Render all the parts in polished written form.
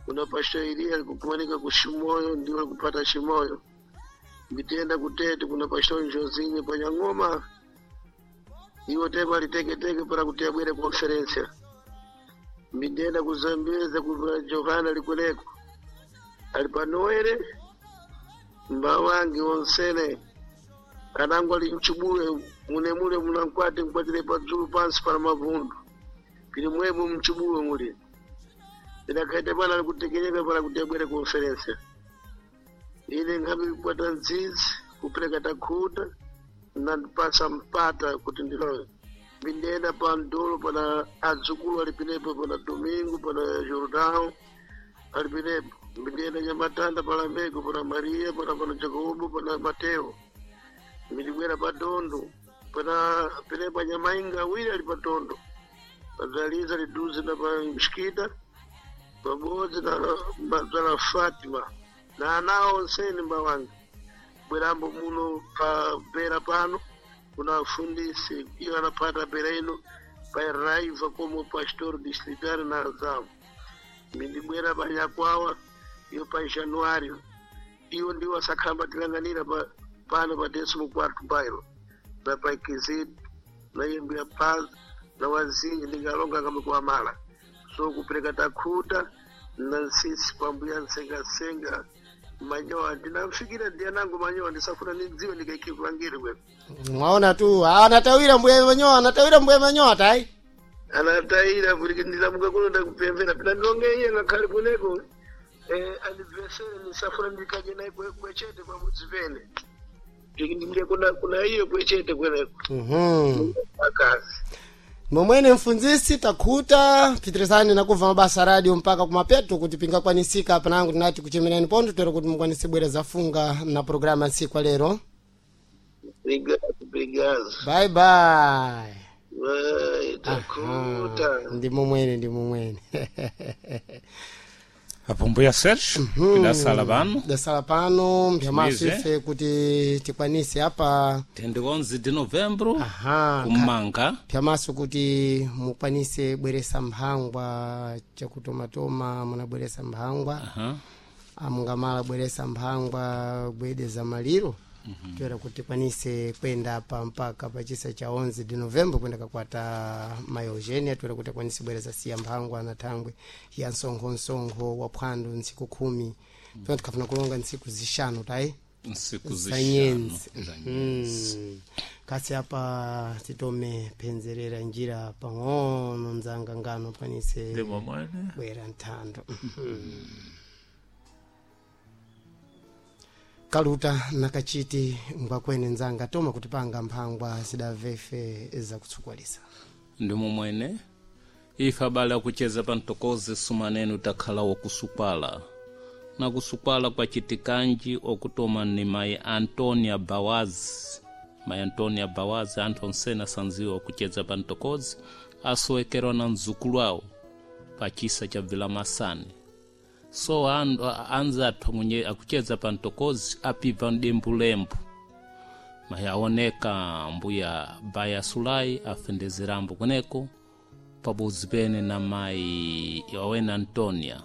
Kuna pastor Elia alikukumanika kushimoyo ndio alikupata shimoyo. Mbitenda kutete kuna pastor Njozinye panyang'oma iwo tema liteketeke para kuti abwere konferensia. Mbitenda kuzambeza kuna Johana likuleko alipanoere mbawangi onsene kanangu ali mchubule munemule munankwate nkwatile padzulu pansi para mavundu pili mwemu mchubule muli ndakaita pana alikutekenyeka para kuti abwere konferensia. Ine nkhabe kukwata nzizi kupereka takhuta nandipasa mpata kuti ndilowe. Mbindenda pa ndolo pana adzukulu alipinepo pana Domingo pana Jordão alipinepo. Mbindenda Nyamatanda pana Meko pana Maria pana Jacobo pana Mateo. Mbindibwera pa Dondo pana pinepo Nyamainga awiri ali pa Dondo. Padzaliza liduze na pa Mshikita pabodzi na mbadzala Fatima na anawo onseni mbawange bwerambo muno pa pera pano kuna fundisi iyo anapata pera ino pa raiva como pastor distrital na Azamu. Mindibwera pa Nyakwawa iyo pa Januário iyo ndiwo asakhamba tilanganira pa pano pa décimo quarto bairro na pa Ikizito na Yembuya Paz na Wazinji ndingalonga kamikuamala so kupereka takhuta na nsisi pambuya nsengasenga manyowa ndinamfikira ndianangu manyowa ndisafuna nidziwe ndikaikivangire kwe. Mwaona tu anatawira mbuya manyowa, anatawira mbuya manyowa tai anatayira kuti ndilamuka kuno ndakupemvera pina ndilonge iye ngakhale kuneko andibvesere ndisafuna ndikaje naye kwechete pamudzi pene ndike kuna iyo kwechete kweneko. Akazi momwene mfunzisi takhuta pitirizani nakubva mabasa radio mpaka kumapeto kuti pingakwanisika panangu tinati kuchemerani pondo tero kuti mukwanise bwera zafunga na programa ya ntsiku lero. Obrigado, obrigado. Bye bye. Vai, takhuta. Ndi momwene, ndi momwene. Apo mbuya Sergio tidasala pano. Dasala pano mpyamaso Mize. ife kuti tikwanise apa 11 de novembro aha kumanga pyamaso kuti mukwanise bweresa mphangwa chakutomatoma munabweresa mphangwa. Aha. Amungamala bweresa mphangwa gwede za maliro toera kuti tikwanise kwenda apa mpaka pachisa cha 11 de novembro kwenda kakwata mai Eugenia toera kuti akwanise bweresa siya mphangwa na thangwe ya msonkho wa phwando ntsiku 10 tona tikhafuna kulonga ntsiku zixanu tayi nsiku za zixanu nyenzi. za nyenzi. Kasi apa titome phenzerera njira pang'ono mdzanga ngano panise Ndi momwene. bwera nthando. Kaluta nakachiti ngwakwene nzanga toma kutipanga mphangwa zidavefe zakutsukwalisa. Ndi momwene ife abale akucheza pa mtokozi sumanene utakhala wokusukwala na kusukwala kwachitikanji okutoma ni mayi Antonia Bawazi. Mayi Antonia Bawazi anthu onsene asanziwa okucheza pa mtokozi asowekerwa na mzukulu awo pa chisa cha Vilamasani. So anza athu mwenye akucheza pa mtokozi apibva mdembulembu mayi aoneka mbuya Baya Sulai afendezerambo kweneko pabodzi pene na mayi awene Antonia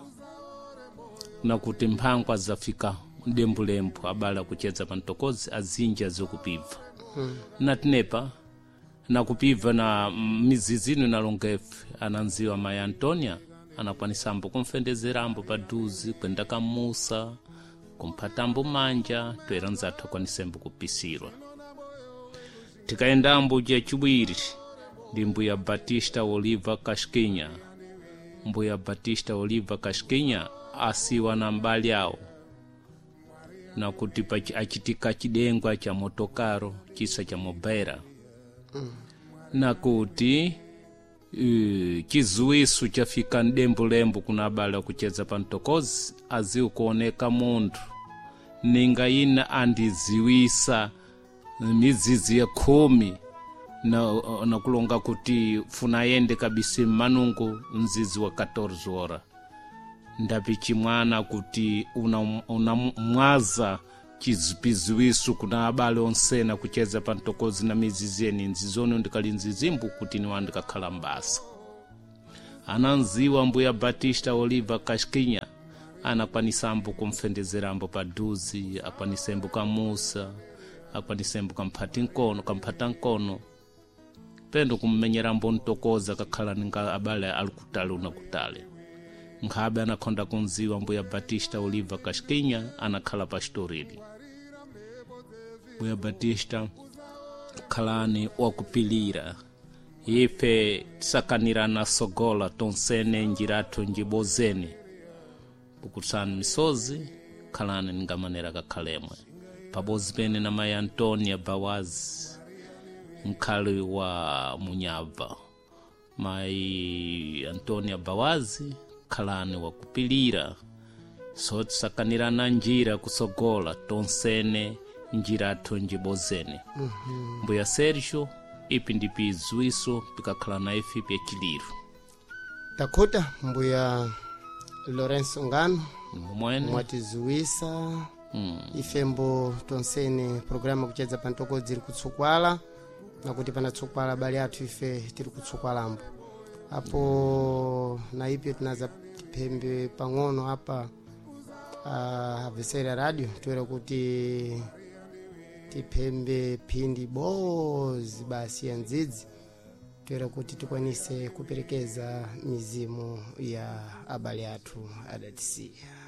nakuti mphangwa zafika mdembulembu abale akucheza pa mtokozi azinja zikupibva. Natinepa nakupibva na mizizi ino inalongefe ananziwa mayi Antonia anakwanisambo kumfendezerambo paduzi kwenda kamusa kumphatambo manja toera nzathu akwanisembo kupisirwa. Tikayendambo chachibwiri ndi mbuya Batista Oliva Kashkinya. Mbuya Batista Oliva Kashkinya asiwa na mbali awo nakuti achitika chidengwa cha motokaro chisa cha mobera. Nakuti chizuwisu chafika mdembulembu kuna abale akucheza pa mtokozi aziwe kuoneka munthu ninga ina andiziwisa mizizi ya 10 na kulonga kuti funa ayende kabisa mmanungu mzizi wa 14 ora ndapichi mwana kuti una mwaza chizipiziwisu kuna abale onsena kucheza pa mtokozi na mizizi eni nzizono ndikali nzizimbu kuti niwa ndikakhala mbasa. Ananziwa mbuya Batista Oliva Kashkinya. Anakwanisambo kumfendezerambo paduzi, akwanisembo kamusa, akwanisembo kamphati nkono, kamphata nkono, pendo kummenyerambo ntokoza kakhala ninga abale ali kutali una kutali. Nkhabe anakhonda kunziwa mbuya Batista Oliva Casquinha anakhala pastorili. Mbuya Batista, khalani wakupilira, ife tisakanirana sogola tonsene njirathu njibozeni, pukutsani misozi, khalani ningamanera kakhalemwe pabozi pene na mayi Antonia Bawazi mkhali wa Munyabva. Mayi Antonia Bawazi, khalani wakupilira, so tisakanirana njira kusogola tonsene njirathu njibozeni. Mbuya Sergio, ipi ndipi izwiso pikakhala na ife pyachiliro. Takhuta mbuya Lourenço Ngano. Mwene. Mwatizuwisa ifembo tonsene programa kuchedza pantokodzi iri kutsukwala, nakuti panatsukwala abale athu ife tiri kutsukwalambo apo, na ipyo tinaza phembe pang'ono apa avesera radio toera kuti tiphembe phindi bozi basi ya ndzidzi, toera kuti tikwanise kuperekeza mizimu ya abale athu adatisiya.